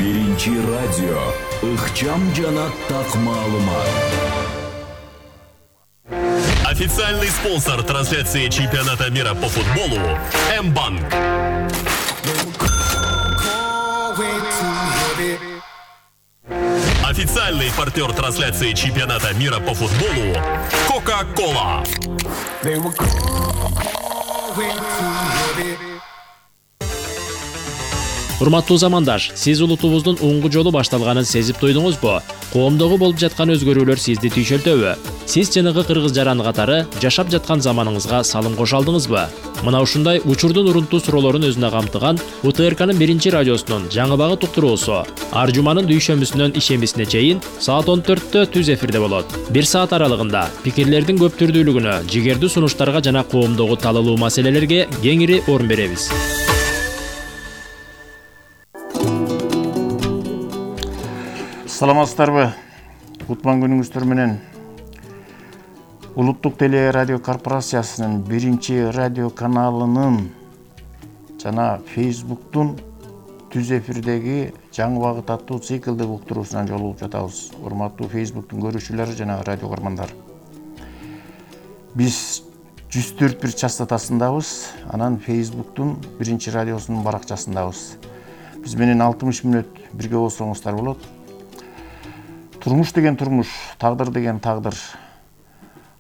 Биринчи радио. Ыкчам жана так маалымат. Официальный спонсор трансляции чемпионата мира по футболу М-банк. Официальный партнер трансляции чемпионата мира по футболу Кока-Кола. Урматтуу замандаш, сиз улутубуздун оңгу жолу башталганын сезип туйдуңузбу? Коомдогу болуп жаткан өзгөрүүлөр сизди түйшөлтөбү? Сиз жанагы кыргыз жараны катары жашап жаткан заманыңызга салым кошо алдыңызбы? Мына ушундай учурдун урунтуу суроолорун өзүнө камтыган УТРКнын биринчи радиосунун жаңы багыт уктуруусу ар жуманын дүйшөмбүсүнөн ишембисине чейин саат 14-тө түз эфирде болот. 1 саат аралыгында пикирлердин көп түрдүүлүгүнө, жигердүү сунуштарга жана коомдогу талалуу маселелерге кеңири орун беребиз. Саламатсыздарбы? Кутман күнүңүздөр менен Улуттук теле радио корпорациясынын биринчи радио каналынын жана Facebooktун түз эфирдеги жаңы багыт аттуу циклдик уктуруусунан жолугуп жатабыз. Урматтуу Facebooktун көрүүчүлөрү жана радио көрмандар. Биз 104.1 частотасындабыз, анан Facebooktун биринчи радиосунун баракчасындабыз. Биз менен 60 мүнөт бирге болсоңуздар болот. Турмуш деген турмуш, тагдыр деген тагдыр.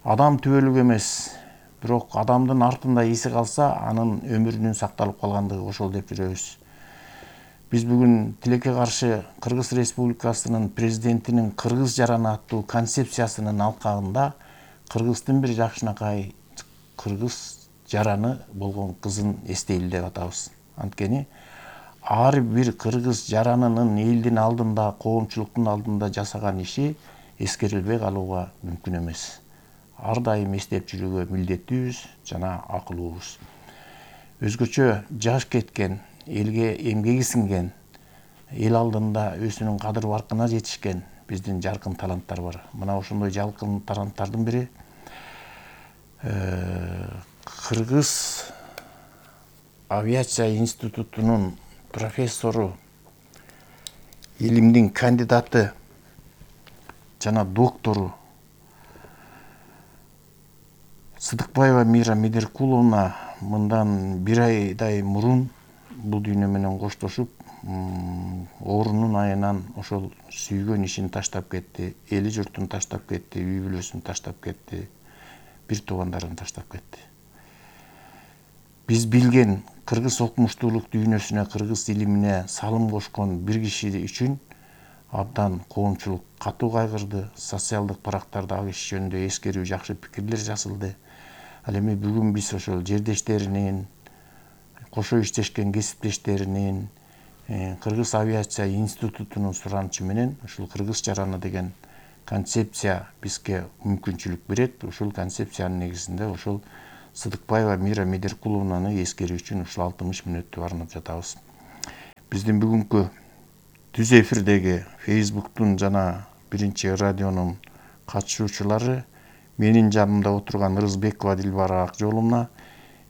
Адам түбөлүк эмес, бирок адамдын артында иси калса, анын өмүрүнүн сакталып калгандыгы ошол деп жүрөбүз. Биз бүгүн тилекке каршы Кыргыз Республикасынын президентинин Кыргыз жараны аттуу концепциясынын алкагында Кыргыздын бир жакшынакай кыргыз жараны болгон кызын эстейли деп атабыз. Анткени ар бир кыргыз жаранынын элдин алдында, коомчулуктун алдында жасаган иши эскерилбей калууга мүмкүн эмес. Ар дайым эстеп жүрүүгө милдеттүүбүз жана акылуубуз. Өзгөчө жаш кеткен, элге эмгеги сиңген, эл алдында өзүнүн кадыр баркына жетишкен биздин жаркын таланттар бар. Мына ошондой жаркын таланттардын бири Кыргыз авиация институтунун профессору, илимдин кандидаты жана доктору Сыдыкбаева Мира Медеркуловна мындан 1 айдай мурун бул дүйнө менен коштошуп, оорунун айынан ошол сүйгөн ишин таштап кетти, эли журтун таштап кетти, үй бүлөсүн таштап кетти, бир туугандарын таштап кетти. Биз билген кыргыз окумуштуулук дүйнөсүнө, кыргыз илимине салым кошкон бир киши үчүн абдан коомчулук катуу кайгырды. Социалдык барактарда ал киши жөнүндө эскерүү, жакшы пикирлер жазылды. Ал эми бүгүн биз ошол жердештеринин, кошо иштешкен кесиптештеринин, Кыргыз авиация институтунун суранычы менен ушул кыргыз жараны деген концепция бизге мүмкүнчүлүк берет. Ушул концепциянын негизинде ошол Сыдыкбаева Мира Медеркуловнаны эскерүү үчүн ушул 60 мүнөттү арнап жатабыз. Биздин бүгүнкү түз эфирдеги Facebooktун жана биринчи радионун катышуучулары менин жанымда отурган Ырысбекова Дилбара Акжоловна,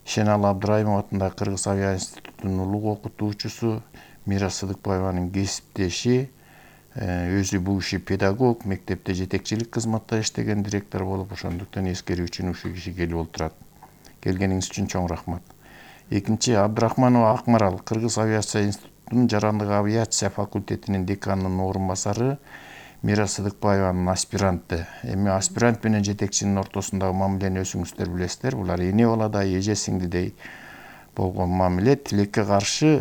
Ишеналы Абдырайымов атындагы Кыргыз авиация институтунун улуг окутуучусу, Мира Сыдыкбаеванын кесиптеши, өзү бул киши педагог, мектепте жетекчилик кызматта иштеген директор болуп, ошондуктан эскерүү үчүн ушул киши келип отурат. Келгениңиз үчүн чоң рахмат. Экинчи Абдрахманова Акмарал, Кыргыз авиация институтунун жарандык авиация факультетинин деканынын орун басары, Мира Сыдыкбаеванын аспиранты. Эми аспирант менен жетекчинин ортосундагы мамилени өзүңүздөр билесиздер. Булар эне баладай, эже сиңдидей болгон мамиле. Тилекке каршы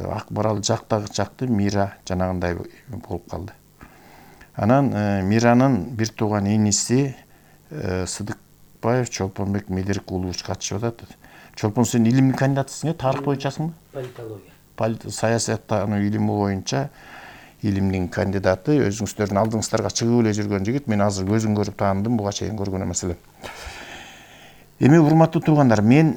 Акмарал жактагычакты Мира жанагындай болуп калды. Анан Миранын бир тууган иниси Сыдыкбаев Чолпонбек Медеркулович катышып атат. Чолпон, сен илимдин кандидатысың, тарых боюнчасыңбы? Политология. Саясаттануу илими боюнча илимдин кандидаты, өзүңүздөрдүн алдыңыздарга чыгып эле жүргөн жигит. Мен азыр көзүн көрүп таандым, буга чейин көргөн эмес элем. Эми урматтуу туугандар, мен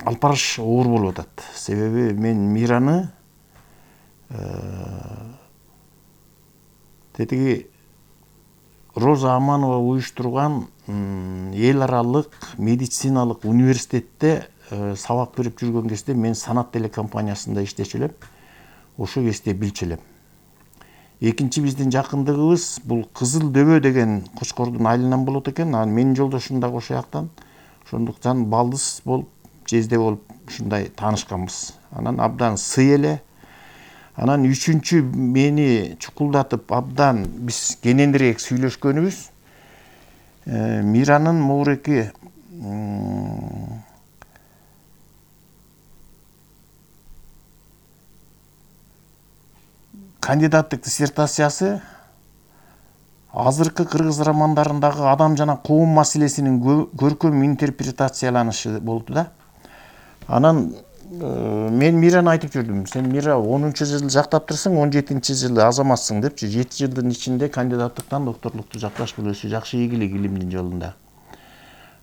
алпарыш оор болуп атат. Себеби мен Мираны тетиги Роза Аманова уюштурган эл аралык медициналык университетте сабак берип жүргөн кезде мен Санат телекомпаниясында иштечү элем. Ошо кезде билчү элем. Экинчи биздин жакындыгыбыз бул Кызыл Дөбө деген Кочкордун айылынан болот экен. Анан менин жолдошум дагы ошол жактан. Ошондуктан балдыз болуп, жезде болуп ушундай таанышканбыз. Анан абдан сый эле. Анан үчүнчү мени чукулдатып абдан биз кененирээк сүйлөшкөнүбүз Миранын могуреки кандидаттык диссертациясы азыркы кыргыз романдарындагы адам жана коом маселесинин көркөм интерпретацияланышы болду да. Анан мен Мираны айтып жүрдүм. Сен Мира 10-жыл жактаптырсың, 17-жылы азаматсың депчи. 7 жылдын ичинде кандидаттыктан докторлукту жакташ болушу жакшы ийгилик илимдин жолунда.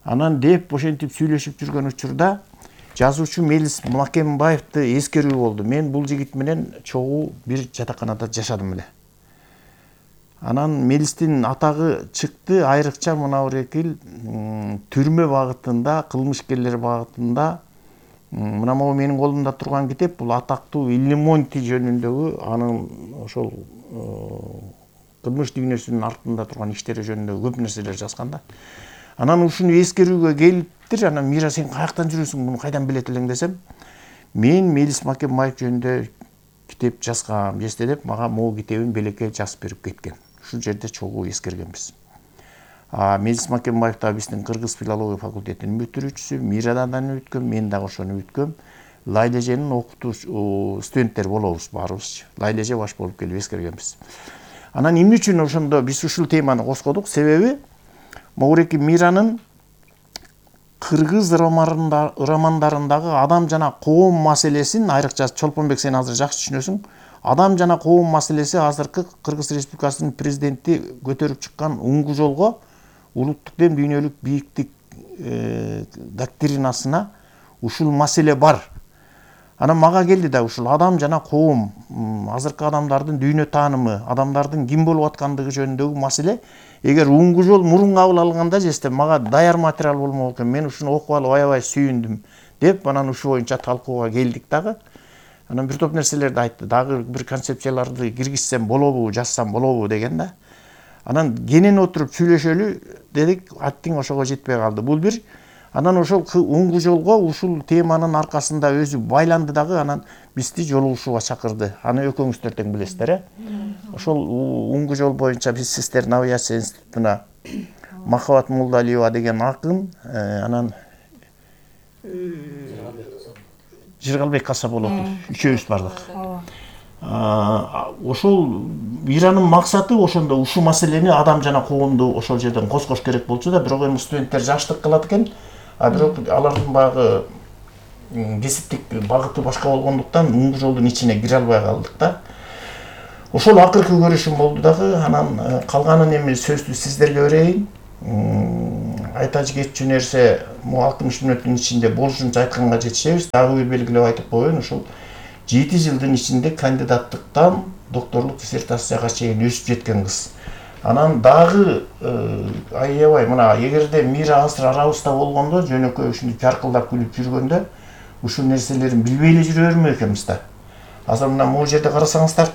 Анан деп ошентип сүйлөшүп жүргөн учурда жазуучу Мелис Макембаевди эскерүү болду. Мен бул жигит менен чогуу бир жатаканада жашадым эле. Анан Мелистин атагы чыкты, айрыкча мына Орекил түрмө багытында, кылмышкерлер багытында. Мына могу менин колумда турган китеп бул атактуу Иллимонти жөнүндөгү анын ошол кылмыш дүйнөсүнүн артында турган иштери жөнүндө көп нерселер жазган да. Анан ушуну эскерүүгө келиптир. Анан Мира сен каяктан жүрөсүң, муну кайдан билет элең десем, мен Мелис Макембаев жөнүндө китеп жазгам, эсте деп мага могу китебин белекке жазып берип кеткен. Ушул жерде чогуу эскергенбиз. Мелис Макембаев да биздин Кыргыз филология факультетинин бүтүрүүчүсү, Мирадан өткөм, мен дагы ошону өткөм. Лайлеженин окутуучу студенттер болобуз баарыбызчы. Лайлеже баш болуп келип эскергенбиз. Анан эмне үчүн ошондо биз ушул теманы козгодук? Себеби Могуреки Миранын кыргыз романдарындагы адам жана коом маселесин, айрыкча Чолпонбек сен азыр жакшы түшүнөсүң, адам жана коом маселеси азыркы Кыргыз Республикасынын президенти көтөрүп чыккан уңгу жолго, улуттук дем дүйнөлүк бийиктик доктринасына ушул маселе бар. Анан мага келди да ушул адам жана коом, азыркы адамдардын дүйнө таанымы, адамдардын ким болуп аткандыгы жөнүндөгү маселе эгер уңгу жол мурун кабыл алганда жесте мага даяр материал болмок экен. Мен ушуну окуп алып аябай сүйүндүм деп, анан ушу боюнча талкууга келдик дагы. Анан бир топ нерселерди айтты. Дагы бир концепцияларды киргизсем болобу, жазсам болобу деген да. Анан кенен отуруп сүйлөшөлү дедик, аттың ошого жетпей калды. Бул бир. Анан ошол уңгу жолго ушул теманын аркасында өзү байланды дагы, анан бизди жолугушууга чакырды. Аны экөөңүздөр тең билесиздер, Ошол уңгу жол боюнча биз сиздердин авиация институтуна Махабат Молдалиева деген акын, анан Жыргалбек Касаболотов үчөөбүз бардык. Ошол Миранын максаты ошондо ушу маселени адам жана коомду ошол жерден козгош керек болчу да, бирок эми студенттер жаштык кылат экен. Бирок алардын багы кесиптик багыты башка болгондуктан уңгу жолдун ичине кире албай калдык да. Ошол акыркы көрүшүм болду дагы. Анан калганын эми сөздү сиздерге берейин. Айта кетчү нерсе, 60 мүнөттүн ичинде болушунча айтканга жетишебиз. Дагы бир белгилеп айтып коеюн, ушул 7 жылдын ичинде кандидаттыктан докторлук диссертацияга чейин өсүп жеткен кыз. Анан дагы аябай мына эгерде Мира азыр арабызда болгондо, жөнөкөй ушундай жаркылдап күлүп жүргөндө ушул нерселерин билбей эле жүрө берме экенбиз да. Азыр мына могу жерде карасаңыздар,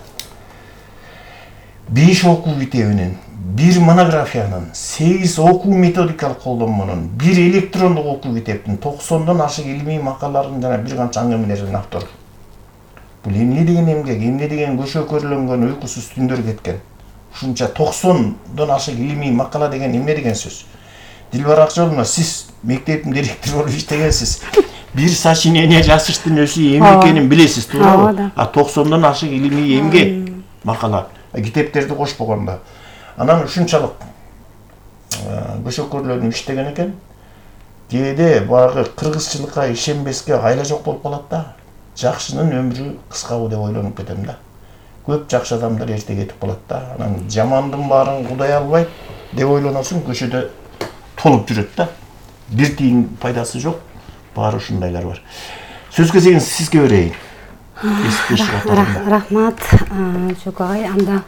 5 окуу китебинин, 1 монографиянын, 8 окуу методикалык колдонмонун, 1 электрондук окуу китептин, 90дон ашык илимий макалалардын жана бир канча аңгемелердин автору. Бул эмне деген эмгек, эмне деген көшөкөрлөнгөн уйкусуз түндөр кеткен. Ушунча 90дон ашык илимий макала деген эмне деген сөз? Дилбар Акжоловна, сиз мектептин директору болуп иштегенсиз. Бир сочинение жазыштын өзү эмне экенин билесиз, туурабы? 90дон ашык илимий эмгек макала, китептерди кошпогондо. Анан ушунчалык көшөкөрлөнүп иштеген экен. Кээде баягы кыргызчылыкка ишенбеске айла жок болуп калат да. Жакшынын өмүрү кыскабы деп ойлонуп кетем да. Көп жакшы адамдар эрте кетип калат да. Анан жамандын баарын кудай албайт деп ойлоносуң, көчөдө толуп жүрөт да. Бир тиын пайдасы жок. Баары ушундайлар бар. Сөз кезегин сизге берейин. Рахмат, Жок агай. Анда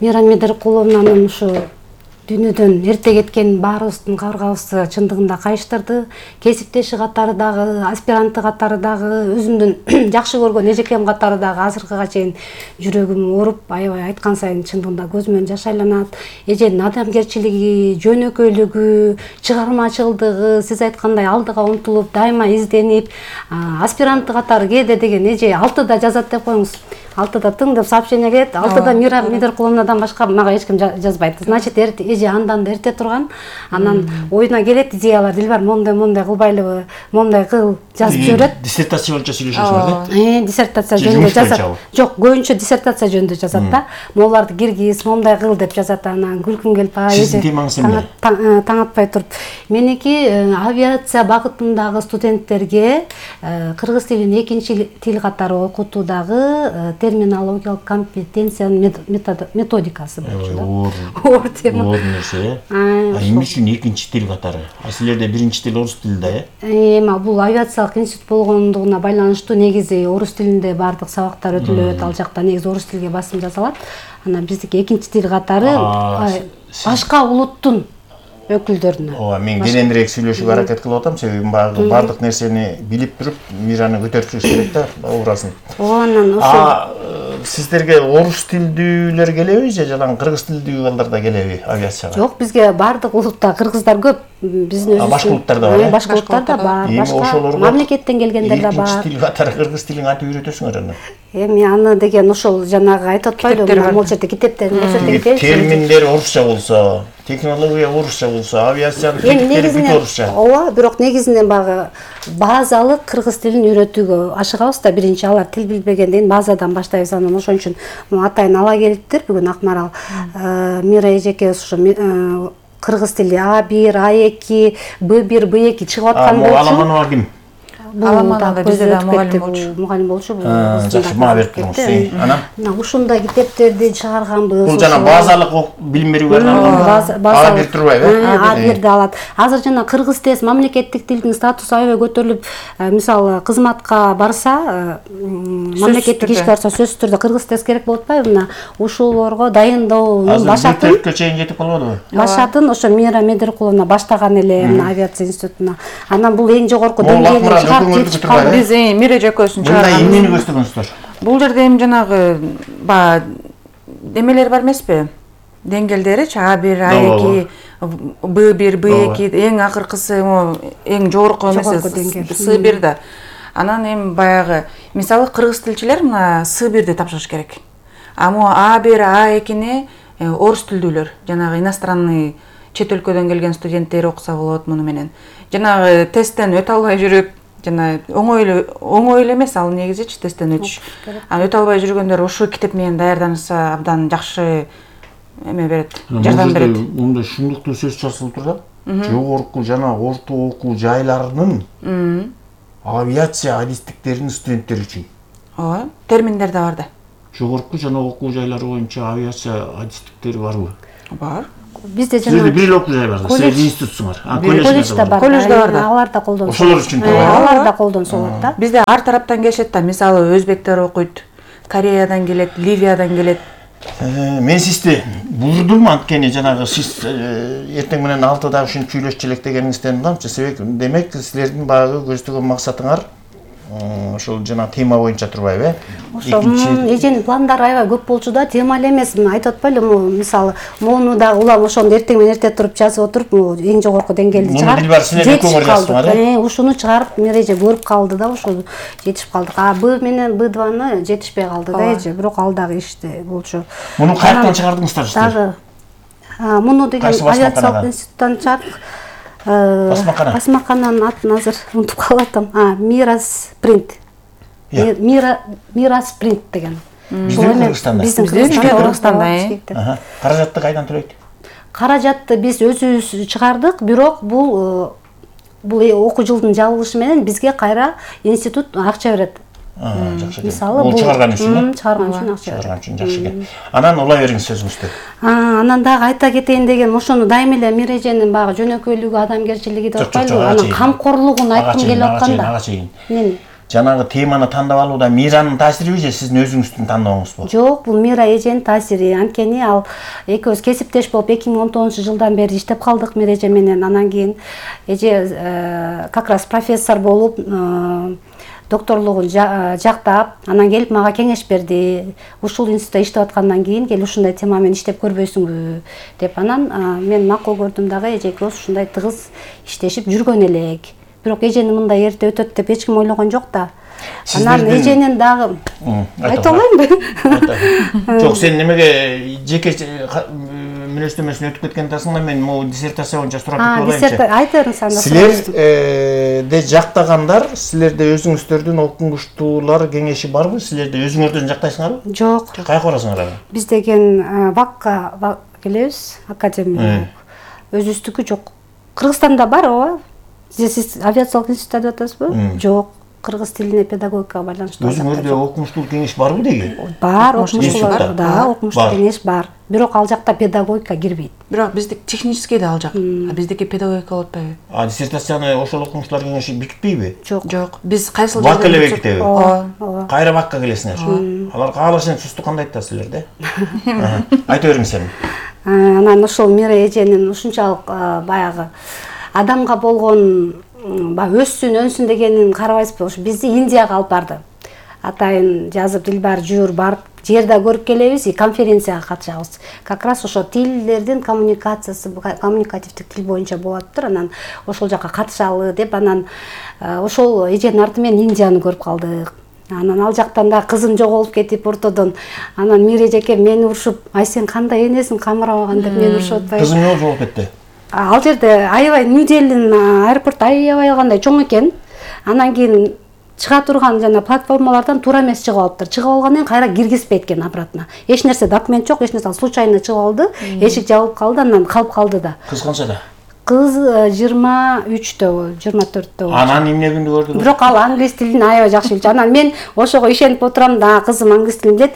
Мира Медеркуловнанын ушу дүйнөдөн эрте кеткен баарыбыздын кабыргабызды чындыгында кайыштырды. Кесиптеши катары дагы, аспиранты катары дагы, өзүмдүн жакшы көргөн эжекем катары дагы азыркыга чейин жүрөгүм ооруп, аябай айткан сайын чындыгында көзүмөн жаш айланат. Эженин адамгерчилиги, жөнөкөйлүгү, чыгармачылдыгы, сиз айткандай алдыга умтулуп, дайыма изденип, аспиранты катары кээде деген эже 6-да жазат деп коюңуз. 6-да тың деп сообщение келет, 6-да Мира Медеркуловнадан башка мага эч ким жазбайт. Значит, эже андан да эрте турган. Анан оюна келет идеялар, Дилбар мондай кылбайлыбы, мондай кыл жазып жиберет. Диссертация боюнча сүйлөшөсүңөр да? Диссертация жөнүндө жазат. Жок, көбүнчө диссертация жөнүндө жазат да. Моларды киргиз, мондай кыл деп жазат. Анан күлкүм келип, Сиздин темаңыз эмне? Таң атпай туруп. Меники авиация багытындагы студенттерге кыргыз тилин экинчи тил катары окутуудагы терминологиялык компетенциянын методикасы болчу. Оор тема. Оор нерсе. Эмне үчүн экинчи тил катары? Силерде биринчи тил орус тили да, Эми бул авиациялык институт болгондугуна байланыштуу негизи орус тилинде баардык сабактар өтүлөт, ал жакта негизи орус тилге басым жасалат. Анан биздики экинчи тил катары башка улуттун өкүлдөрүнө. Ооба, мен кененирээк сүйлөшүүгө аракет кылып атам, себеби баардык нерсени билип туруп, Мираны көтөрүшүбүз керек да, образын. Анан ошо сиздерге орус тилдүүлөр келеби же жана кыргыз тилдүү балдар да келеби авиацияга? Жок, бизге баардык улутта кыргыздар көп. Биздин өзүбүз. Башка улуттар да бар. Башка улуттар да бар. Башка мамлекеттен келгендер да бар. Экинчи тил катары кыргыз тилин аты үйрөтөсүңөр аны. Эми аны деген ошол жанагы айтып атпайлыбы, могул жерде китептерин көрсөтөт. Терминдер орусча болсо, технология орусча болсо, авиациянын тилдери бүт орусча. Ооба, бирок негизинен багы базалык кыргыз тилин үйрөтүүгө ашыгабыз да. Биринчи алар тил билбегенден базадан баштайбыз. Анан ошон үчүн атайын ала келиптир бүгүн Акмарал. Мира эжеке ошо кыргыз тили А1, А2, Б1, Б2 чыгып аткан болчу. Аламанова ким? Аламанова бизде да мугалим болчу. Жакшы, мага берип туруңуз. Анан ушундай китептерди чыгарганбыз. Бул жана базалык билим берүүгө арналган. А1 турбайбы? А1 да алат. Азыр жана кыргыз тез мамлекеттик тилдин статусу аябай көтөрүлүп, мисалы кызматка барса, мамлекеттик ишке барса сөзсүз түрдө кыргыз тез керек болуп атпайбы? Мына ушулорго дайындоонун башатын. Азыр чейин жетип калбадыбы? Башатын ошо Мира Медеркуловна баштаган эле авиация институтуна. Анан бул эң жогорку деңгээлде Биз Мира эжекөсүн чыгарганбыз. Мындай эмнени көздөгөнсүздөр? Бул жерде эми жанагы демелер бар эмеспи? Деңгээлдеричи А1, А2, Б1, Б2, эң акыркысы эң жогорку С1 да. Анан эми баягы мисалы кыргыз тилчилер мына С1ди тапшырыш керек. А могу А1, А2ни орус тилдүүлөр, жанагы иностранный чет өлкөдөн келген студенттер окуса болот муну менен. Жанагы тесттен өтө албай жүрүп, жана оңой эле эмес ал негизичи тесттен өтүш. Өтө албай жүргөндөр ошол китеп менен даярданса абдан жакшы эме берет, жардам берет. Мында шундуктуу сөз жазылып тур да. Жогорку жана орто окуу жайларынын авиация адистиктеринин студенттери үчүн. Ооба, терминдер да бар да. Жогорку жана окуу жайлары боюнча авиация адистиктери барбы? Бар. Бизде жана Силерде бир эле окуу жай бар да, силер институтсуңар. Колледжде бар. Колледжде бар да. Алар да колдонсо. Ошолор үчүн алар да колдонсо болот да. Бизде ар тараптан келишет да. Мисалы өзбектер окуйт, Кореядан келет, Ливиядан келет. Мен сизди бурдум, анткени жанагы сиз эртең менен 6-да ушинтип сүйлөшчү элек дегениңизден угамчы. Себеп демек силердин багы көздөгөн максатыңар ошол жана тема боюнча турбайбы? Ошо эженин пландары аябай көп болчу да, тема эле эмес. Айтып атпайлы, мисалы, моуну да улам ошондо эртең менен эрте туруп жазып отуруп, эң жогорку деңгээлди чыгарып. Ушуну чыгарып Миреже көрүп калды да, ошол жетишип калдык. Б менен Б2-ны жетишпей калды да эже, бирок ал дагы иште болчу. Муну каяктан чыгардыңыздар сиздер? Дагы муну деген авиациялык институттан чыгардык. Басмакананын атын азыр унутуп калатам. Мира Спринт. Мира Спринт деген. Биздин Кыргызстанда. Биздин Кыргызстанда. Каражатты кайдан төлөйт? Каражатты биз өзүбүз чыгардык, бирок бул окуу жылдын жабылышы менен бизге кайра институт акча берет. Жакшы. Бул чыгарган үчүн, чыгарган үчүн акча. Чыгарган үчүн жакшы экен. Анан улай бериңиз сөзүңүздү. Анан дагы айта кетейин деген, ошону дайыма эле Миреженин багы жөнөкөйлүгү, адамгерчилиги деп атпайлыбы, анын камкорлугун айткым келип атканда. Ага чейин. жанагы теманы тандап алууда Миранын таасириби же сиздин өзүңүздүн тандооңузбу? Жок, бул Мира эженин таасири. Анткени ал экөөбүз кесиптеш болуп 2019-жылдан бери иштеп калдык Мира эже менен. Анан кийин эже как раз профессор болуп, докторлугун жактап, анан келип мага кеңеш берди. Ушул институтта иштеп аткандан кийин келип ушундай тема менен иштеп көрбөйсүңбү деп. Анан мен макул көрдүм дагы, эже экөөбүз ушундай тыгыз иштешип жүргөн элек. Бирок эжени мындай эрте өтөт деп эч ким ойлогон жок да. Анан эженин дагы айта алайынбы? Жок, сен немеге жеке мүнөздөмөсүн өтүп кеткен атасың да, мен могу диссертация боюнча сурап кетип алайынчы. Айтыңыз анда. Силерде жактагандар, силерде өзүңүздөрдүн окумуштуулар кеңеши барбы? Силерде өзүңөрдөн жактайсыңарбы? Жок. Кайга барасыңар ага? Биз деген ВАКка келебиз, академия. Өзүбүздүкү жок. Кыргызстанда бар, ооба. Сиз авиациялык институтта деп атасызбы? Жок. Кыргыз тилине педагогикага байланыштуу. Өзүңөрдө окумуштуулук кеңеш барбы деги? Бар, окумуштуулар да, окумуштуулук кеңеш бар. Бирок ал жакта педагогика кирбейт. Бирок биздики технический да ал жак. Биздики педагогика болуп атпайбы? Диссертацияны ошол окумуштуулар кеңеши бекитпейби? Жок. Биз кайсыл ВАК эле бекитеби? Ооба. Кайра ВАКка келесиңер. Алар каалашын сусту кандайт да силерде? Айта бериң сен. Анан ошол Мира эженин ушунчалык баягы адамга болгон өссүн дегенин карабайсызбы? Ушу бизди Индияга алып барды. Атайын жазып, Дилбар жуур барып, жерде көрүп келебиз, конференцияга катышабыз. Как раз ошо тилдердин коммуникациясы, коммуникативдик тил боюнча болуптур. Анан ошол жака катышалы деп, анан ошол эженин арты менен Индияны көрүп калдык. Анан ал жактан да кызым жоголуп кетип ортодон. Анан Мира эжеке мени урушуп, "Ай сен кандай энесиң камырамаган" деп мени урушуп атпайбы? Кызым эмне жоголуп кетти? Ал жерде аябай Нью-Делинин аэропорту аябай алгандай чоң экен. Анан кийин чыга турган жана платформалардан туура эмес чыгып алыптыр. Чыгып алгандан кийин кайра киргизбейт экен обратно. Эч нерсе документ жок, эч нерсе, случайно чыгып алды, эшик жабылып калды, анан калып калды да. Кыз канчада? Кыз 23-тө, 24-тө. Анан эмне күндү көрдү? Бирок ал англис тилин аябай жакшы билчү. Анан мен ошого ишенип отурам да, кызым англис тилин билет,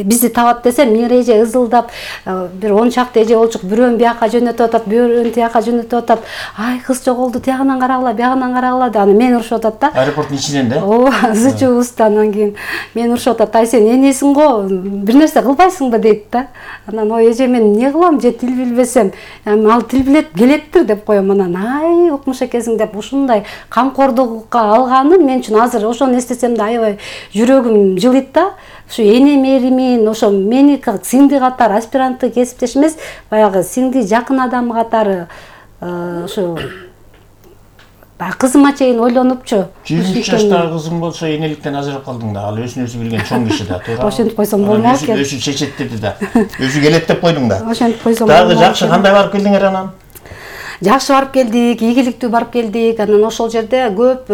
бизди табат десем, Мира эже ызылдап, бир 10 чакты эже болчук, бирөөнү бияка жөнөтүп атат, бирөөнү тияка жөнөтүп атат. Ай, кыз жоголду, тиягынан карагыла, биягынан карагыла деп анан мени урушуп атат да. Аэропорттун ичинен да? Ооба, зычубузда. Анан кийин мени урушуп атат. Ай, сен энесиң го, бир нерсе кылбайсыңбы дейт да. Анан ой эже мен эмне кылам, же тил билбесем, ал тил билет, келеттир деп коем. Анан ай, укмуш экенсиң деп ушундай камкордукка алганын мен үчүн азыр ошону эстесем да аябай жүрөгүм жылыйт да. Ушу эне меримин, ошо мени сиңди катары, аспиранттык кесиптеш эмес, баягы сиңди жакын адам катары ушу кызыма чейин ойлонупчу. 23 жаштагы кызым болсо энеликтен ажырап калдың да. Ал өзүн өзү билген чоң киши да, туура. Ошентип койсом болмок экен. Өзү чечет деди да. Өзү келет деп койдуң да. Ошентип койсом дагы жакшы, кандай барып келдиңер анан? Жакшы барып келдик, ийгиликтүү барып келдик. Анан ошол жерде көп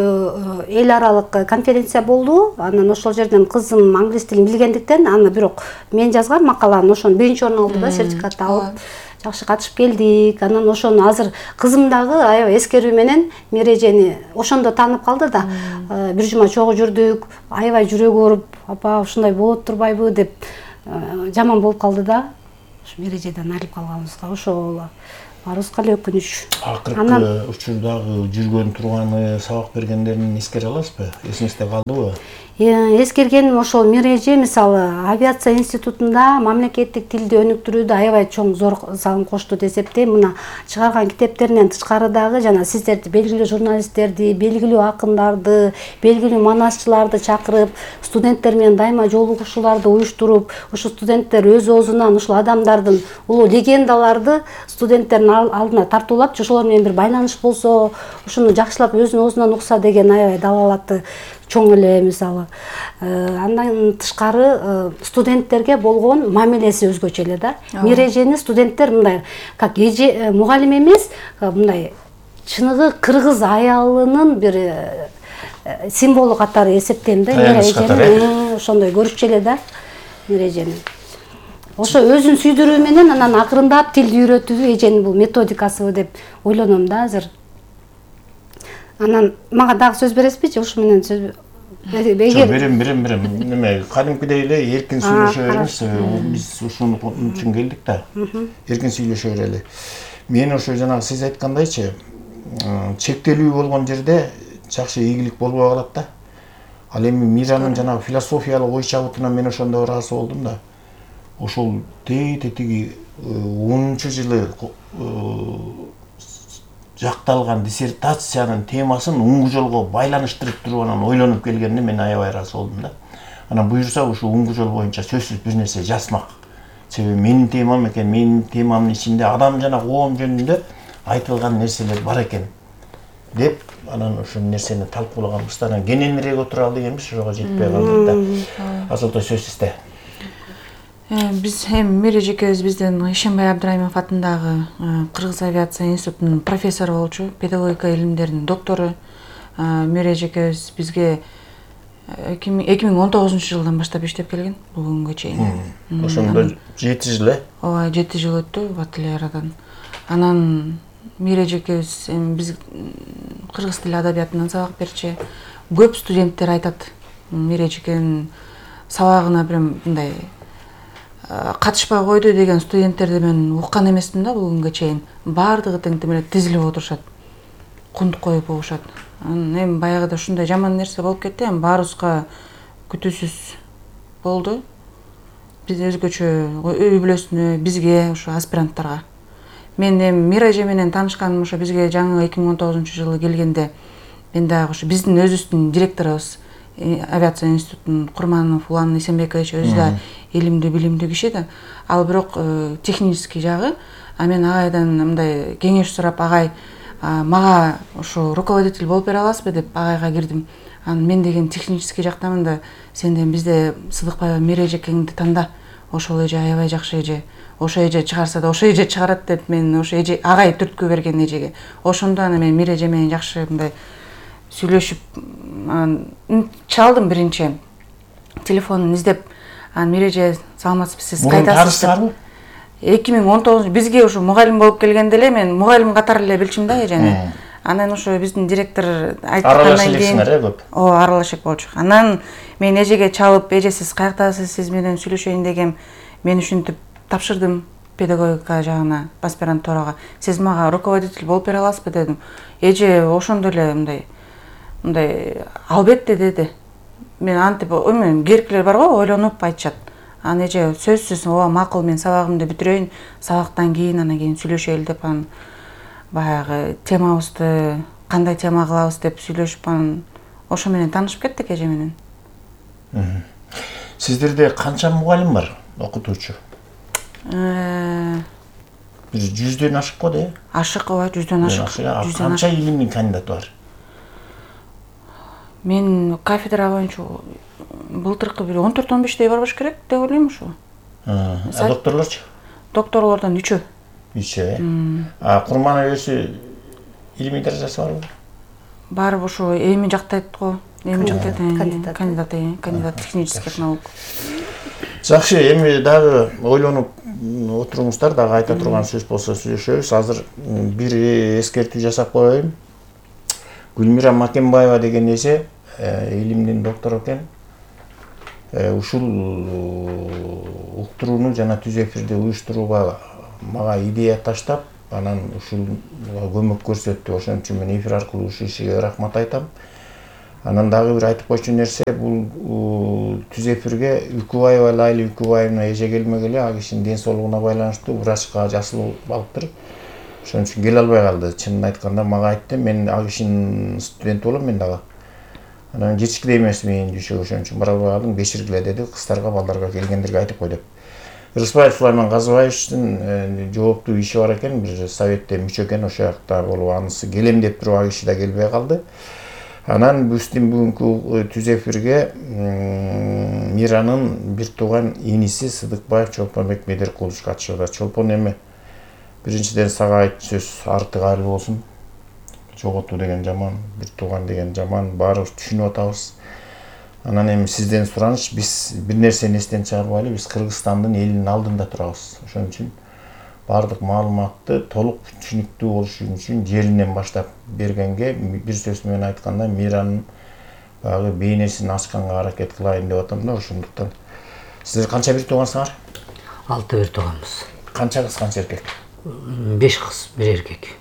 эл аралык конференция болду. Анан ошол жерден кызым англис тилин билгендиктен, аны бирок мен жазган макаланы ошону биринчи орун алды да, сертификат алып. Жакшы катышып келдик. Анан ошону азыр кызым дагы аябай эскерүү менен Мира эжени ошондо таанып калды да. Бир жума чогуу жүрдүк, аябай жүрөгү ооруп, апа ушундай болот турбайбы деп жаман болуп калды да. Ушу Мира эжеден айрылып калганыбызга ошол баарыбызга эле өкүнүч. Акыркы учурдагы жүргөн турганы, сабак бергендерин эскере аласызбы? Эсиңизде калдыбы? Эскергеним ошол Мира эже мисалы авиация институтунда мамлекеттик тилди өнүктүрүүдө аябай чоң зор салым кошту деп эсептейм. Мына чыгарган китептеринен тышкары дагы жана сиздерди, белгилүү журналисттерди, белгилүү акындарды, белгилүү манасчыларды чакырып, студенттер менен дайыма жолугушууларды уюштуруп, ушу студенттер өз оозунан ушул адамдардын улуу легендаларды студенттердин алдына тартуулап, ошолор менен бир байланыш болсо, ушуну жакшылап өзүнүн оозунан укса деген аябай далалаты чоң эле мисалы. Андан тышкары студенттерге болгон мамилеси өзгөчө эле да. Мира эжени студенттер мындай, как эже мугалим эмес, мындай чыныгы кыргыз аялынын бир символу катары эсептейм да. Мира эжени ошондой көрүшчү эле да, Мира эжени. Ошо өзүн сүйдүрүү менен анан акырындап тилди үйрөтүү эженин бул методикасы деп ойлоном да азыр. Анан мага дагы сөз бересизби? Ушу менен сөз берем. Неме, кадимкидей эле эркин сүйлөшө беребиз. Биз ушуну үчүн келдик да. Эркин сүйлөшө берели. Мен ошо жанагы сиз айткандайчы, чектелүү болгон жерде жакшы ийгилик болбой калат да. Ал эми Миранын жанагы философиялык ой чабытына мен ошондо ыраазы болдум да. Ошол тетиги 10-жылы жакталган диссертациянын темасын уңгу жолго байланыштырып туруп анан ойлонуп келгенине мен аябай ыраазы болдум да. Анан буюрса ушул уңгу жол боюнча сөзсүз бир нерсе жазмак. Себеби менин темам экен, менин темамдын ичинде адам жана коом жөнүндө айтылган нерселер бар экен деп анан ошол нерсени талкуулаганбыз да. Анан кененирээк отуралы дегенбиз, ошого жетпей калдык да. Азалтай сөз сизде. Биз Мире экөөбүз бизден Ишенбай Абдрайымов атындагы Кыргыз авиация институтунун профессору болчу, педагогика илимдеринин доктору. Мире экөөбүз бизге 2019-жылдан баштап иштеп келген бул күнгө чейин. Ошондо 7 жыл Ооба, 7 жыл өттү Батылерадан. Анан Мире экөөбүз биз кыргыз тили адабиятынан сабак берчи. Көп студенттер айтат, Мире экенин сабагына бир мындай катышпай койду деген студенттерди мен уккан эмесмин да бул күнгө чейин. Баардыгы тең тизилип отурушат. Кунт коюп коюшат. Эми баягыда ушундай жаман нерсе болуп кетти, эми баарыбызга күтүүсүз болду. Биз өзгөчө үй бүлөсүнө, бизге, ошо аспиранттарга. Мен эми Мира эже менен таанышканым ошо бизге жаңы 2019-жылы келгенде мен дагы ошо биздин өзүбүздүн директорубуз авиация институтунун Курманов Улан Эсенбекович өзү да илимдүү, билимдүү киши да. Ал бирок технический жагы, мен агайдан мындай кеңеш сурап, агай мага ошо руководитель болуп бере аласызбы деп агайга кирдим. Анан мен деген технический жактамын да, сенден бизде Сыдыкбаева Мире экеңди танда. Ошол эже аябай жакшы эже. Ошо эже чыгарса да ошо эже чыгарат деп мен ошо эже агай түрткү берген эжеге. Ошондо аны мен Мире эже менен жакшы мындай сүйлөшүп чалдым биринчи. Телефонун издеп, Мире эже саламатсызбы, сиз кайтасызбы? 2019 бизге ушу мугалим болуп келгенде эле мен мугалим катары эле билчим да эжени. Анан ошо биздин директор айткандан кийин көп. Аралаш элек болчу. Анан мен эжеге чалып, эже сиз каяктасыз, сиз менен сүйлөшөйүн дегем. Мен ушинтип тапшырдым педагогика жагына, аспирантурага. Сиз мага руководитель болуп бере аласызбы дедим. Эже ошондо эле мындай албетте деди. Мен антип эми керкилер бар го, ойлонуп айтышат. Анан эже сөзсүз ооба макул, мен сабагымды бүтүрөйүн, сабактан кийин анан кийин сүйлөшөлү деп анан баягы темабызды кандай тема кылабыз деп сүйлөшүп анан ошо менен таанышып кеттик эже менен. Сиздерде канча мугалим бар, окутуучу? Бир 100дөн ашык го де? Ашык, ооба, 100дөн ашык. Канча илимдин кандидаты бар? Мен кафедра боюнча былтыркы бир 14-15дей бар болуш керек деп ойлойм ушу. Докторлорчу? Докторлордон 3. 3. Курманов өзү илимий даражасы барбы? Бар, ошо эми жактайт го. Эми жактайт кандидат технический наук. Жакшы, эми дагы ойлонуп отуруңуздар, дагы айта турган сөз болсо сүйлөшөбүз. Азыр бир эскертүү жасап коеюн. Гүлмира Макенбаева деген эже илимдин доктору экен. Ушул уктурууну жана түз эфирди уюштурууга мага идея таштап, анан ушул көмөк көрсөттү. Ошон үчүн мен эфир аркылуу ушул ишиге рахмат айтам. Анан дагы бир айтып койчу нерсе, бул түз эфирге Үкүбаева Лайли Үкүбаевна эже келмегеле, ал кишинин ден соолугуна байланыштуу врачка жасылып алыптыр. Ошон үчүн келе албай калды. Чынын айтканда мага айтты, мен ал кишинин студенти болом мен дагы. Анан жетишкиде эмес менин жүйшө, ошон үчүн бара албай калдым, кечиргиле деди, кыздарга, балдарга келгендерге айтып кой деп. Рыспаев Сулайман Казыбаевичтин жооптуу иши бар экен, бир советте мүчө экен, ошол жакта болуп анысы келем деп туруп ал киши да келбей калды. Анан биздин бүгүнкү түз эфирге Миранын бир тууган иниси Сыдыкбаев Чолпонбек Медеркулович катышууда. Чолпон эми биринчиден сага айт сөз артык айлы болсун. Жоготуу деген жаман, бир тууган деген жаман, баарыбыз түшүнүп атабыз. Анан эми сизден сураныч, биз бир нерсени эстен чыгарбайлы, биз Кыргызстандын элинин алдында турабыз. Ошон үчүн баардык маалыматты толук түшүнүктүү болуш үчүн жеринен баштап бергенге, бир сөз менен айтканда Миранын баягы бейнесин ачканга аракет кылайын деп атам да. Ошондуктан сиздер канча бир туугансыңар? 6 бир тууганбыз. Канча кыз, канча эркек? 5 кыз, 1 эркек.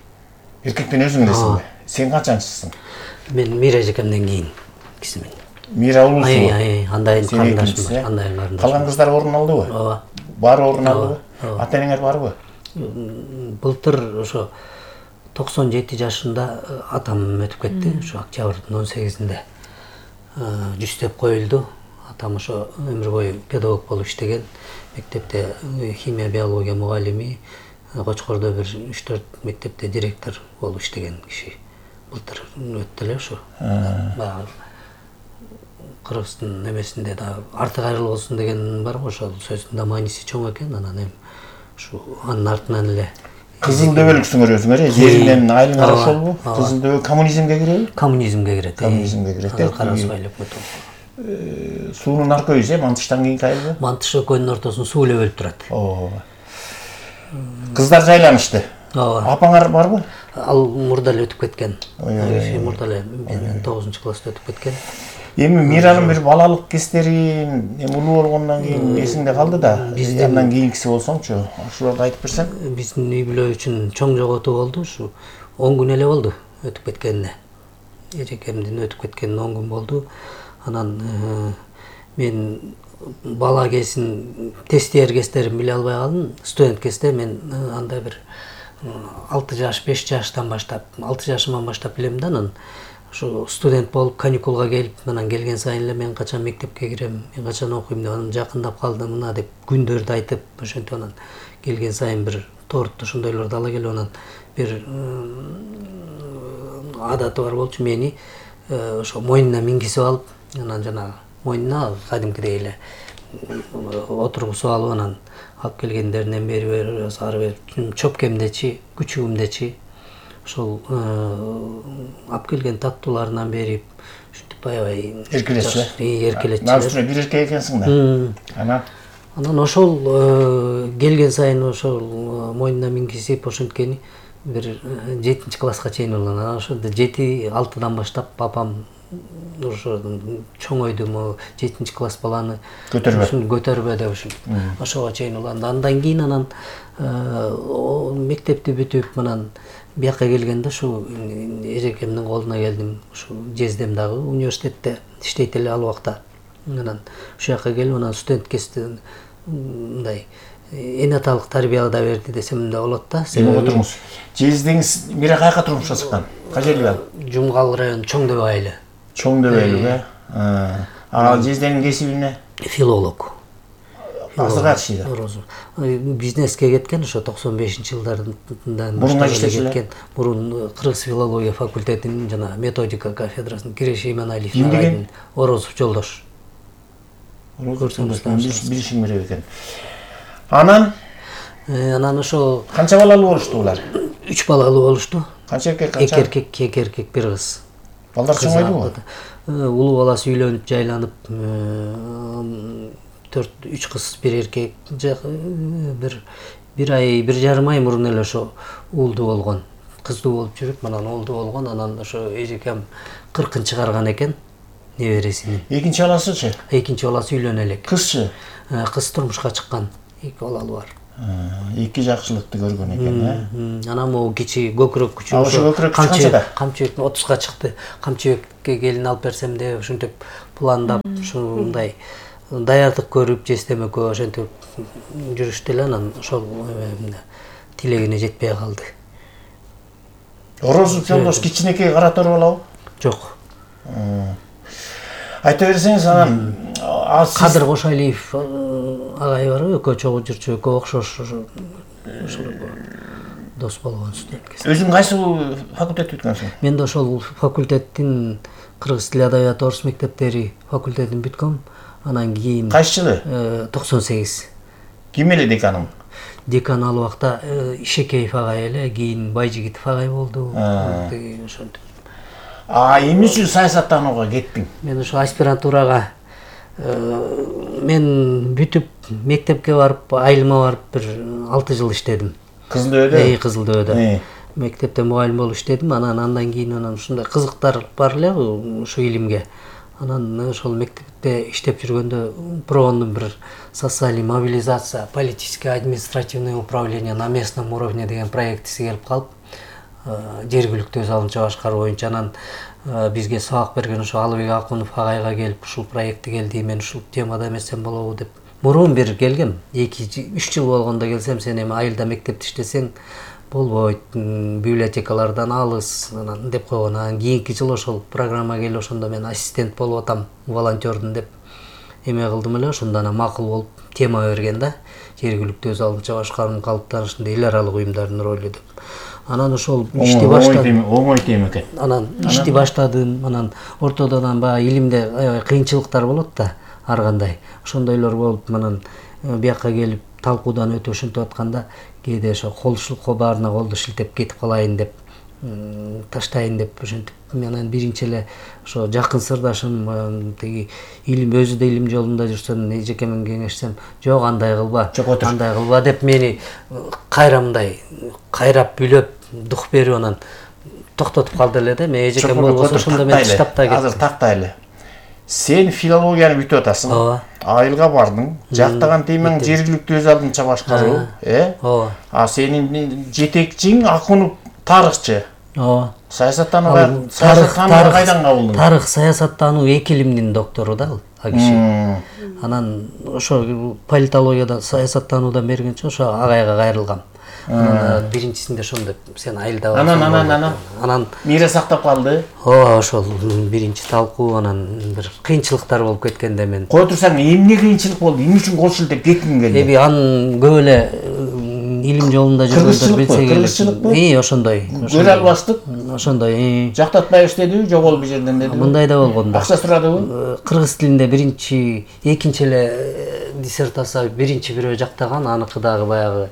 Эркектен өзүң элесиңби? Сен канчанчысың? Мен Мира эжекемден кийин кисимин. Мира улусу. Андай Сен карындашым экинчиси, бар, андай карындашым. Калган кыздар орун алдыбы? Ооба. Баары орун алдыбы? Ата-энеңер барбы? Былтыр ошо 97 жашында атам өтүп кетти. Ошо октябрдын 18-инде жүзтеп коюлду. Атам ошо өмүр бою педагог болуп иштеген. Мектепте химия, биология мугалими, Кочкордо бир 3-4 мектепте директор болуп иштеген киши. Былтыр өттү эле ошо. Баягы Кыргыздын немесинде да арты кайрылуу болсун деген бар го, ошол сөздүн да мааниси чоң экен. Анан эми ушу анын артынан эле Кызыл дөбөлүксүңөр өзүңөр, жериңден айылыңар ошолбу? Кызыл дөбө коммунизмге киреби? Коммунизмге кирет. Коммунизмге кирет. Карабызбай элек өтө. Суунун аркөйү Мантыштан кийинки айылбы? Мантыш экөөнүн ортосун суу эле бөлүп турат. Ооба. Кыздар жайланышты. Ооба. Апаңар барбы? Ал мурда эле өтүп кеткен. Мурда эле 9-класста өтүп кеткен. Эми Миранын бир балалык кездерин, эми улуу болгондон кийин эсиңде калды да. Андан кийинкиси болсоңчу, ошолорду айтып берсең. Биздин үй бүлө үчүн чоң жоготуу болду. Ушу 10 күн эле болду өтүп кеткенине. Эжекемдин өтүп кеткенине 10 күн болду. Анан мен бала кезин тестиер кездерин биле албай калдым. Студент кезде мен андай бир 6 жаш, 5 жаштан баштап, 6 жашыман баштап билем да. Анан ошо студент болуп каникулга келип, анан келген сайын эле мен качан мектепке кирем, мен качан окуйм деп анан жакындап калды мына деп күндөрдү айтып, ошентип анан келген сайын бир торту ошондойлорду ала келип анан бир адаты бар болчу, мени ошо мойнуна мингизип алып, анан жанагы мойнуна кадимкидей эле отургузуп алып анан алып келгендеринен бери ары бери чөпкемдечи, күчүгүмдечи ошол алып келген тактууларынан берип ушинтип аябай эркелетчи. Наусуна бир эркек экенсиң да. Анан ошол келген сайын ошол мойнуна мингизип ошенткени бир 7-класска чейин болгон. Анан ошо 7-6-дан баштап папам ошо чоңойду, 7-класс баланы көтөрбө деп ошого чейин уланды. Андан кийин анан мектепти бүтүп анан бияка келгенде ушу эжекемдин колуна келдим. Ушу жездем дагы университетте иштейт эле ал убакта. Анан ушул жака келип анан студент кезде мындай энаталык тарбия да берди десем да болот да. Себеби отуруңуз. Жездеңиз Мира каяка турмушка чыккан? Кача эле ал? Жумгал району Чоң дөбө айылы. Чоң дөбөлүк, а жезденин кесиби эмне? Филолог. Азыркы киши. Бизнеске кеткен, ошо 95-жылдардан башка кеткен. Мурун Кыргыз филология факультетинин жана методика кафедрасынын киреше Иманалиев агайдын Орозов жолдош. Билишиң керек экен. Анан ошо канча балалуу болушту булар? 3 балалуу болушту. Канча эркек, канча? 2 эркек, 1 кыз. Балдар чоңойдубу? Улуу баласы үйлөнүп, жайланып, 3 кыз, 1 эркек, бир ай, 1,5 ай мурун эле ошо уулду болгон. Кыздуу болуп жүрүп, анан уулду болгон, анан ошо эжекем 40-ын чыгарган экен небересинин. Экинчи баласычы? Экинчи баласы үйлөнө элек. Кызчы? Кыз турмушка чыккан. 2 балалуу бар. 2 жакшылыкты көргөн экен, Анан могу кичи көкүрөк күчү. Ошо көкүрөк канчада? Камчыбек 30га чыкты. Камчыбекке келин алып берсем деп ушинтип пландап, ушундай даярдык көрүп, жездем экөө ошентип жүрүштү эле, анан ошол тилегине жетпей калды. Орозов жолдош кичинекей кара тор балабы? Жок. Айта берсеңиз, анан Кадыр Кошалиев агай барбы, экөө чогуу жүрчү, экөө окшош ошол дос болгон студент. Өзүң кайсы факультет бүткөнсүң? Мен да ошол факультеттин кыргыз тили адабияты орус мектептери факультетин бүткөм. Анан кийин кайсы жылы? 98. Ким эле деканың? Декан ал убакта Ишекеев агай эле, кийин Байжигитов агай болду. Ошентип. Эмне үчүн саясаттанууга кеттиң? Мен ошо аспирантурага мен бүтүп мектепке барып, айылыма барып бир 6 жыл иштедим. Кызыл дөбөдө? Кызыл дөбөдө. Мектепте мугалим болуп иштедим. Андан кийин ушундай кызыктар бар эле ушу илимге. Анан ошол мектепте иштеп жүргөндө ПРООндун бир социальный мобилизация, политическое административное управление на местном уровне деген проектиси келип калып, жергиликтүү өз алдынча башкаруу боюнча. Анан бизге сабак берген ошо Алыбек Акунов агайга келип ушул проекти келди, мен ушул темада эмесем болобу деп. Мурун бир келгем, 2-3 жыл болгондо келсем, сен эми айылда мектепте иштесең болбойт, библиотекалардан алыс анан деп койгон. Анан кийинки жыл ошол программа келип, ошондо мен ассистент болуп атам, волонтердун деп эме кылдым эле. Ошондо анан макул болуп тема берген да, жергиликтүү өз алдынча башкаруунун калыптанышында эл аралык уюмдардын ролу деп. Анан ошол ишти баштадым. Оңой тема экен. Анан ишти баштадым. Анан ортодон баягы илимде аябай кыйынчылыктар болот да, ар кандай. Ошондойлор болуп, анан бияка келип талкуудан өтүп ушинтип атканда кээде ошо колчулукка баарына колду шилтеп кетип калайын деп, таштайын деп ошентип. Менен биринчи эле ошо жакын сырдашым тиги илим, өзү да илим жолунда жүрсөм, эжекемен кеңешсем, жок андай кылба деп мени мындай кайрап бүлөп дух берип анан токтотуп калды эле да. Мен эжекем болбосо ошондо мен таштап да кеттим. Азыр тактайлы. Сен филологияны бүтүп атасың. Ооба. Айылга бардың. Жактаган темең жергиликтүү өз алдынча башкаруу, Ооба. А сенин жетекчиң Акунов тарыхчы. Ооба. Саясаттануу кайдан кабылдың? Тарых, саясаттануу эки илимдин доктору да ал киши. Анан ошо политологияда, саясаттануудан бергенче ошо агайга кайрылгам. Анан биринчисинде ошондо сен айылда анан мире сактап калды. Ооба, ошол биринчи талкуу, анан бир кыйынчылыктар болуп кеткенде мен. Кой турсаң, эмне кыйынчылык болду? Эмне үчүн кол шилтеп кеттиң келди? Эми анын көп эле илим жолунда жүргөндөр билсе керек. Ошондой. Көрө албастык. Ошондой. Жактатпай иштедиби, жок ол бир жерден дедиби? Мындай да болгон да. Акча сурадыбы? Кыргыз тилинде биринчи, экинчи эле диссертация биринчи бирөө жактаган, аныкы дагы баягы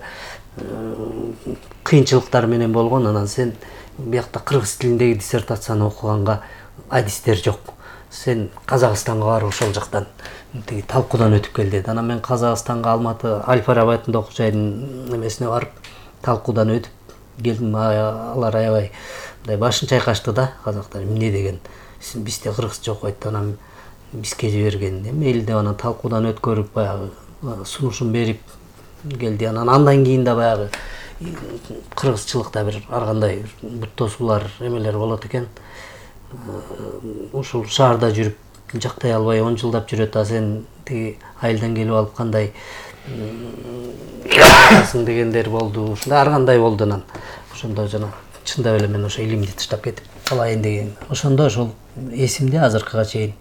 кыйынчылыктар менен болгон. Анан сен биякта кыргыз тилиндеги диссертацияны окуганга адистер жок. Сен Казакстанга барып ошол жактан тиги талкуудан өтүп кел деди. Анан мен Казакстанга Алматы Аль-Фараби атындагы окуу жайдын эмесине барып талкуудан өтүп келдим. Алар аябай мындай башын чайкашты да, казактар эмне деген. Бизде кыргызча окуйт, анан бизге жиберген. Эми элде анан талкуудан өткөрүп баягы сунушун берип келди. Андан кийин да баягы кыргызчылыкта бир ар кандай буттосуулар, эмелер болот экен. Ушул шаарда жүрүп жактай албай 10 жылдап жүрөт, а сен тиги айылдан келип алып кандай сың дегендер болду. Ушундай ар кандай болду. Анан ошондо жана чындап эле мен ошо илимди таштап кетип калайын деген. Ошондо ошол эсимде азыркыга чейин.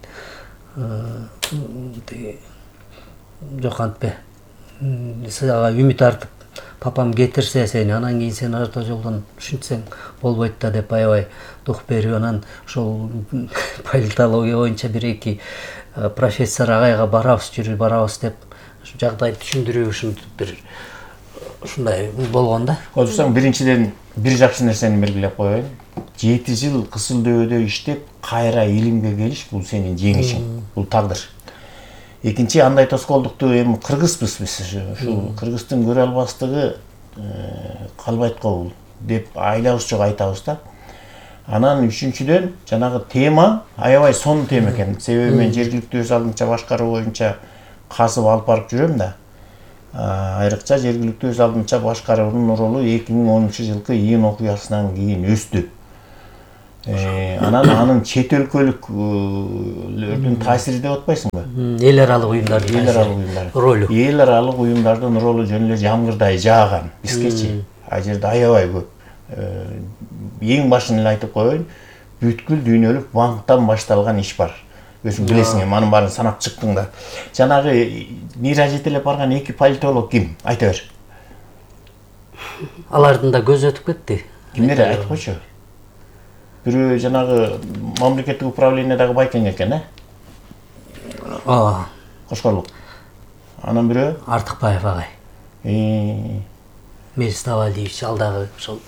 Тиги жок антпе. Сага үмүт артып, папам кетирсе сени, анан кийин сен орто жолдон ушинтсең болбойт да деп аябай дух берип, анан ошол политология боюнча бир-эки профессор агайга барабыз деп жагдайды түшүндүрүү ушинтип бир ушундай болгон да. Отурсаң, биринчиден бир жакшы нерсени белгилеп коеюн. 7 жыл Кысылдөбөдө иштеп, кайра илимге келиш бул сенин жеңишиң, бул тагдыр. Экинчи, андай тоскоолдукту эми кыргызбыз биз, ушул кыргыздын көрө албастыгы калбайт го деп айлабыз жок айтабыз да. Анан үчүнчүдөн жанагы тема аябай сонун тема экен. Себеби мен жергиликтүү өз алдынча башкаруу боюнча касып алып барып жүрөм да. Айрыкча жергиликтүү өз алдынча башкаруунун ролу 2010-жылкы июнь окуясынан кийин өстү. Анан анын чет өлкөлүктөрдүн таасири деп атпайсыңбы? Эл аралык уюмдардын ролу. Эл аралык уюмдардын ролу жөн эле жамгырдай жааган бизгечи. А жерде аябай көп. Эң башын эле айтып коеюн, бүткүл дүйнөлүк банктан башталган иш бар. Өзүң билесиң, анын баарын санап чыктың да. Жанагы мира жетелеп барган 2 политолог ким? Айта бер. Алардын да көзү өтүп кетти. Кимдер айтып койчу? Бирөө жанагы мамлекеттик управлениядагы байкең экен, Кошкорлук. Анан бирөө Артыкбаев агай. Мелис Авалиевич, ал дагы ошол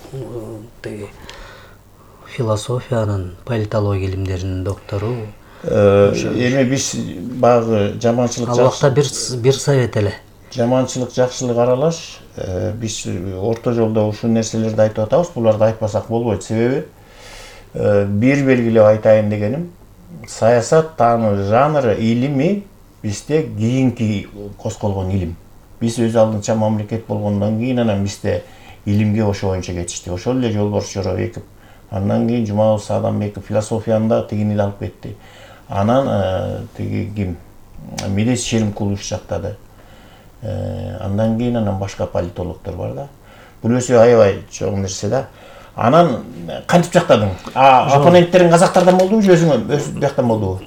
философиянын, политология илимдеринин доктору. Эми биз багы жаманчылык жакшы бир совет эле. Жаманчылык, жакшылык аралаш. Биз орто жолдо ушул нерселерди айтып атабыз. Буларды айтпасак болбойт. Себеби бир белгилеп айтайын дегеним, саясат таануу жанры илими бизде кийинки косколгон илим. Биз өз алдынча мамлекет болгондон кийин анан бизде илимге ошо боюнча кетишти. Ошол эле Жолборс Жоробеков, андан кийин Жумабыл Саадамбеков философияны да тигини эле алып кетти. Анан тиги ким Медес Шеримкулович жактады. Андан кийин башка политологдор бар да. Бул өзү аябай чоң нерсе да. Анан кантип жактадың? Оппоненттериң казактардан болдубу же өз бияктан болдубу?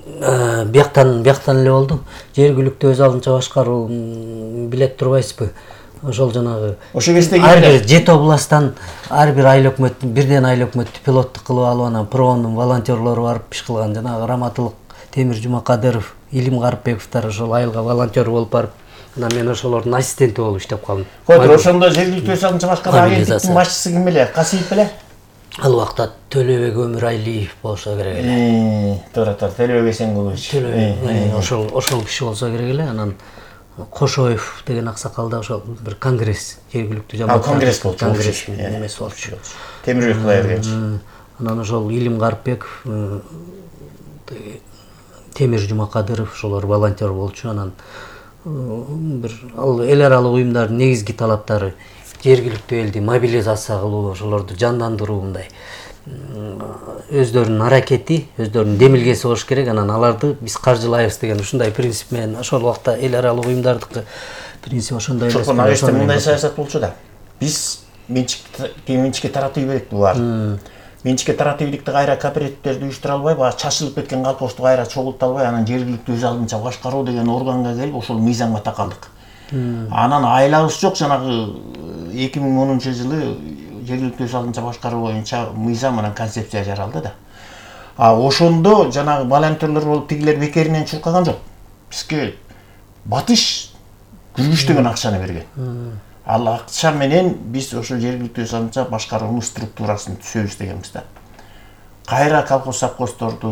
Бияктан эле болду. Жергиликтүү өз алдынча башкаруу билет турбайсызбы? Ошол жанагы ошо кезде ар бир 7 областтан ар бир айыл өкмөт, бирден айыл өкмөттү пилоттук кылып алып анан проонун волонтерлору барып иш кылган. Жанагы Раматылык Темир Жумакадыров, Илим Карыпбековдор ошол айылга волонтер болуп барып, анан мен ошолордун ассистенти болуп иштеп калдым. Койдур, ошондо жергиликтүү өз алдынча башкаруу агенттиктин башчысы ким эле? Касиев беле? Ал убакта Төлөбек Өмүрайлиев болсо керек эле. Туура, Төлөбек Эсенгулович. Ошол киши болсо керек эле. Анан Кошоев деген аксакал да ошол бир конгресс, жергиликтүү жамаат. Конгресс болчу. Конгресстин эмеси болчу. Темирбек Кудайберген. Анан ошол Илим Карыпбеков, Темир Жумакадыров ошолор волонтер болчу. Анан бир ал эл аралык уюмдардын негизги талаптары жергиликтүү элди мобилизация кылуу, ошолорду жандандыруу, мындай өздөрүнүн аракети, өздөрүнүн демилгеси болуш керек. Анан аларды биз каржылайбыз деген ушундай принцип менен ошол убакта эл аралык уюмдардыкы принцип ошондой эле. Чокон агеште мындай саясат болчу да. Биз менчикке таратып ийбедик булар. Менчикке таратып ийдикти кайра кооперативдерди уюштура албай, баягы чачылып кеткен колхозду кайра чогулта албай, анан жергиликтүү өз алдынча башкаруу деген органга келип ошол мыйзамга такалдык. Анан айлагыбыз жок, жанагы 2010-жылы жергиликтүү өз алдынча башкаруу боюнча мыйзам менен концепция жаралды да. Ошондо жанагы волонтерлор болуп тигилер бекеринен чуркаган жок. Бизге батыш күргүч деген акчаны берген. Ал акча менен биз ошол жергиликтүү өз алдынча башкаруунун структурасын түзөбүз дегенбиз да. Кайра колхоз совхоздорду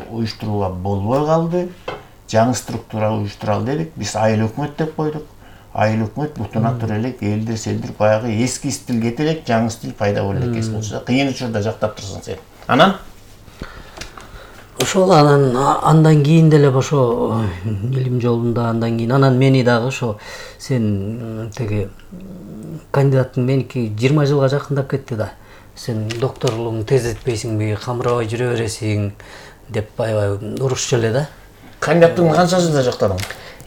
уюштурууга болбой калды. Жаңы структура уюштуралы дедик. Биз айыл өкмөт деп койдук. Айыл өкмөт бутуна тура элек, элдир селдир баягы эски стил кете элек, жаңы стил пайда боло элек болчу. Кыйын учурда жактап турсаң сен. Анан ошол андан кийин деле ошо илим жолунда андан кийин анан мени дагы ошо сен теги кандидаттын меники 20 жылга жакындап кетти да. Сен докторлугуңду тездетпейсиңби, камырабай жүрө бересиң деп аябай урушчу эле да. Кандидаттыгыңды канча жылда жактадың?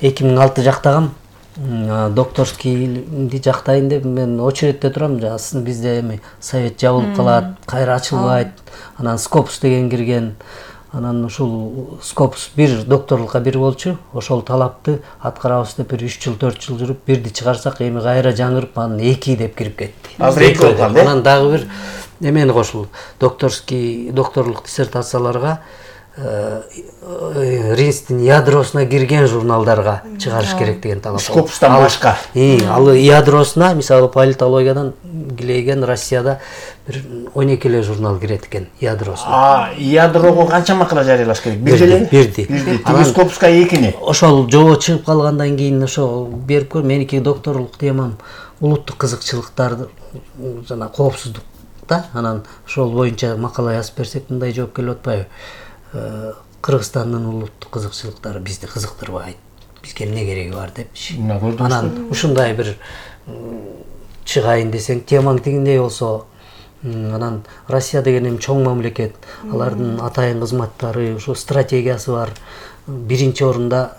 2006 жактагам. Докторскийди жактайын деп мен очередте турам. Бизде эми совет жабылып калат, кайра ачылбайт. Анан Скопус деген кирген. Анан ушул Скопус бир докторлукка бир болчу. Ошол талапты аткарабыз деп 3 жыл 4 жыл жүрүп, бирди чыгарсак эми кайра жаңырып анан 2 деп кирип кетти. Азыр 2 болуп калды. Анан дагы бир эмени кошулду. Докторлук диссертацияларга Ринстин ядросуна кирген журналдарга чыгарыш керек деген талап. Скопустан башка. Ал ядросуна, мисалы политологиядан килейген Россияда бир 12 эле журнал кирет экен ядросуна. Ядрого канча макала жарыялаш керек? Бир эле? Бирди. Тиги Скопуска 2-ни. Ошол жобо чыгып калгандан кийин ошо берип көр. Меники докторлук темам улуттук кызыкчылыктарды жана коопсуздук да. Анан ошол боюнча макала жазып берсек мындай жооп келип атпайбы? Кыргызстандын улуттук кызыкчылыктары бизди кызыктырбайт. Бизге эмне кереги бар депчи. Анан ушундай бир чыгайын десең, темаң тигиндей болсо, анан Россия деген эми чоң мамлекет, алардын атайын кызматтары, ошо стратегиясы бар. Биринчи орунда